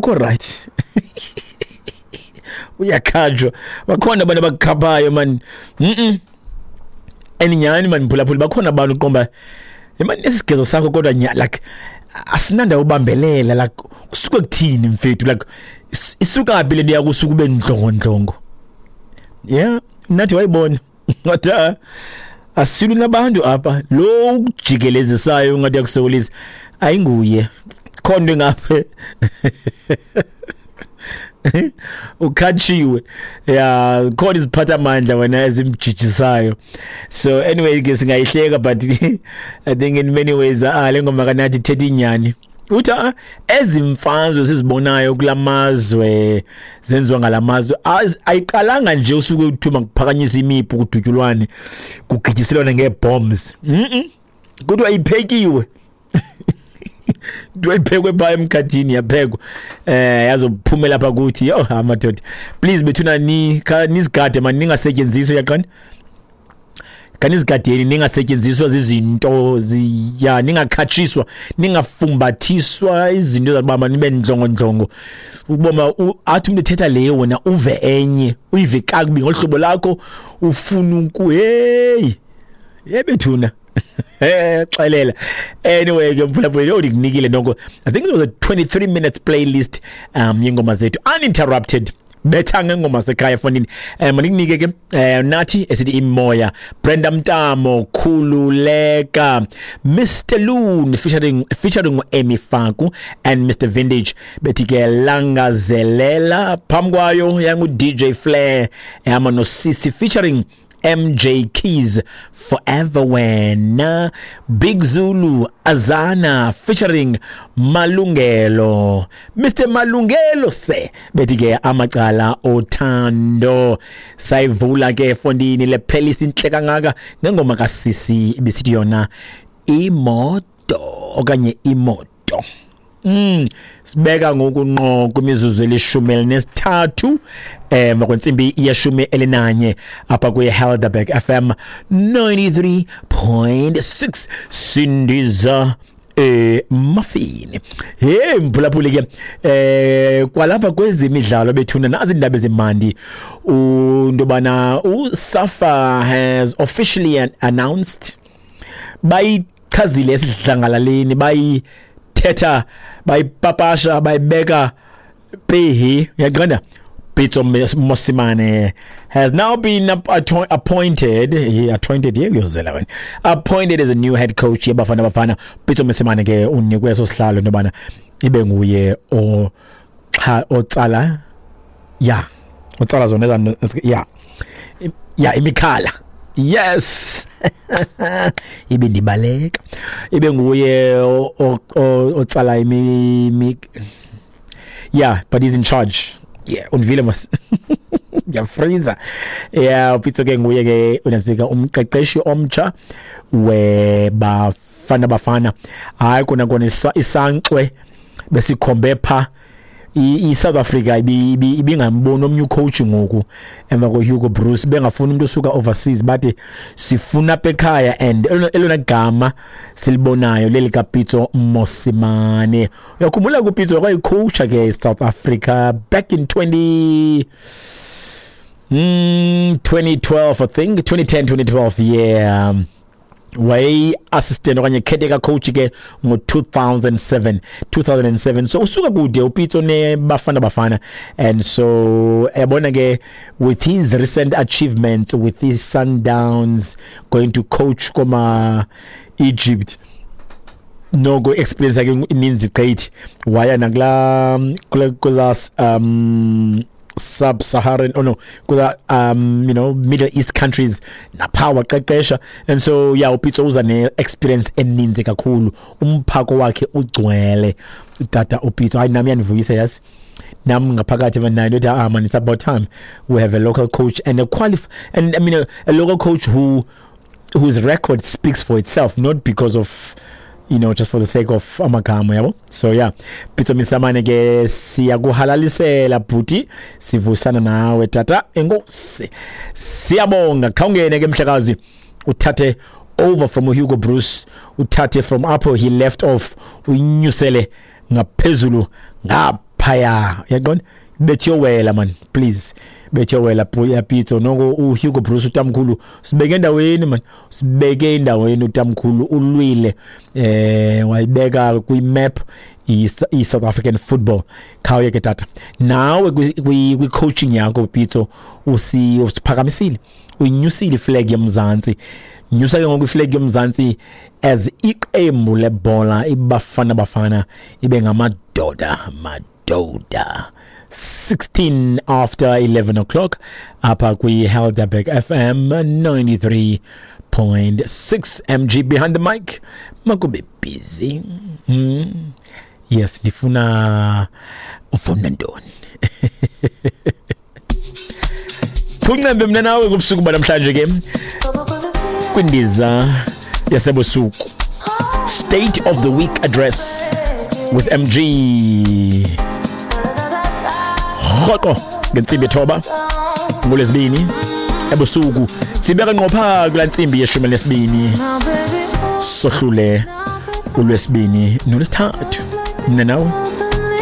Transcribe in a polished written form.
Akukho right, uyakhanjwa. Bakhona abantu abakukhaphayo man. And nyhani man, mphulaphuli, bakhona abantu uqomba mani esigezo sakho, kodwa nya like asinandawo ubambelela, like kusuke kuthini mfethu, like isuka phi le nto yakusuka ube ndlongondlongo? Yeah, nathi wayibona ngathi ah, asilwi nabantu apha. Lo ukujikelezisayo ungathi yakusokolisa ayinguye, khona into engapha, ukhatshiwe ya, khona iziphathamandla wena ezimjijisayo. So anyway ke singayihleka, but I think in many ways, ah, le ngoma kanathi ithetha inyani. Uthi ah, ezimfazwe sizibonayo kulamazwe zenziwa ngalamazwe ayiqalanga nje usuke uthuma kuphakanyisa imipu, kudutyulwane, kugityiselwane ngee-bombs. Kodwa iphekiwe, kuthiwa iphekwe phaa emkhathini, yaphekwa yazophumela apha kuthi. Yo, amadoda, please bethuna, ni nizigade mani, ningasetyenziswa yaqani, kanizigadeni, ningasetyenziswa zizinto ya, ningakhatshiswa, ningafumbathiswa izinto zakuba nibe ndlongondlongo. Ukuboma athi umuntu ethetha le, wena uve enye, uyive kakubi ngohlobo lakho ufuna uku hey yebethuna xelela. Anyway ke mphulaphula, yo, ndikunikile noko, I think it was a 23 minutes playlist yengoma zethu uninterrupted, betha ngengoma sekhaya efondini. Mandikunike ke nathi esithi imoya, Brenda Mtamo, Khululeka, Mr Loon featuring Emi Faku and Mr Vintage, bethi ke Langazelela. Phambi kwayo yangu DJ Flair ehamba noSisi featuring MJ Keys, Forever Wena. Big Zulu, Azana featuring Malungelo, Mr Malungelo se, bethi ke Amacala Othando. Sayivula ke fondini le playlist inhle kangaka ngengoma kaSisi ibisithi yona Imoto okanye Imoto. Sibeka ngoku nqo kwimizuzu eli-13 emva kwentsimbi ye-11 apha kwi Helderberg FM 93.6, sindiza emafini. Hey mphulaphuli ke, kwalapha kwezemidlalo bethuna, nazi indaba ezimandi undobana uSAFA has officially announced, bayichazile esidlangalaleni, bayithetha, bayipapasha, bayibeka pehi, uyaqonda? Pitso Mosimane has now been appointed, he appointed, yeah, uyozela wena, appointed as a new head coach yeBafana Bafana. Pitso Mosimane ke unikwe eso sihlalo nobana ibe nguye o cha otsala, ya, otsala zona ya imikhala, yes, ibe ndibaleka, ibe nguye otsala imi, yeah, but he's in charge, yeah, undivile mos, ngiyafreeza. Yeah, uPitso ke nguye ke unasika umqeqeshi omtsha weBafana Bafana. Hayi kona kona, isankxwe besikhombe pha i-South Africa ibingamboni omnye ucoach ngoku emva ko-Hugo Broos, bengafuni umuntu osuka overseas, bathi sifuna apha ekhaya, and elona gama silibonayo leli kaPitso Mosimane. Uyakhumbula kuPitso wayecoacha ke South Africa back in 20 2012, I think 2010, 2012, yeah, wayeyi-assistant okanye caretaker coach ke ngo-2007, 2007. So usuka kude uPitso neBafana Bafana, and so yabona ke, with his recent achievements with his Sundowns, going to coach koma Egypt, noko experience yakhe ininzi gqithi, waya nakula kula kuza sub-Saharan, oh no, kuza Middle East countries, napha waqeqesha. And so yeah, uPitso uza ne-experience eninzi kakhulu, umphako wakhe ugcwele utata uPitso. Hayi, nami yandivuyisa, yazi, nam ngaphakathi manayo ndithi, ah man, it's about time we have a local coach and a qualif and I mean a local coach whose record speaks for itself, not because of just for the sake of amagama, yabo. So yeah, Pitso Mosimane ke, siyakuhalalisela bhuti, sivusana nawe tata, enkosi, siyabonga. Khawungene ke mhlekazi, uthathe over from Hugo Broos, uthathe from apho he left off, uyinyusele ngaphezulu ngaphaya. Phaya uyaqonda, bethi yowela man, please, bethi yowela Pitso. Noko uHugo Broos utamkhulu sibeke endaweni man, sibeke endaweni utamkhulu, ulwile wayibeka kwi-map i-South African football. Khawuye ke tata, nawe kwi-coaching yakho Pitso usiphakamisile, uyinyusile iflag yoMzantsi. Nyusa ke ngoku iflag yoMzantsi as iqembu lebhola iBafana Bafana ibe ngamadoda madoda. 16 after 11 o'clock apha kwi-Helderberg FM 93.6. MG behind the mic, makube busy. Yes, ndifuna ufuna ntoni? Thuncembe mna nawe kubusuku banamhlanje ke kwindiza yasebusuku, State of the Week Address with MG, rhoqo ngentsimbi 9 ngoLwezibini ebusuku, sibeka ngqo phaa kulaa ntsimbi ye-12, sohlule uLwesibini noLwesithathu, mna nawe.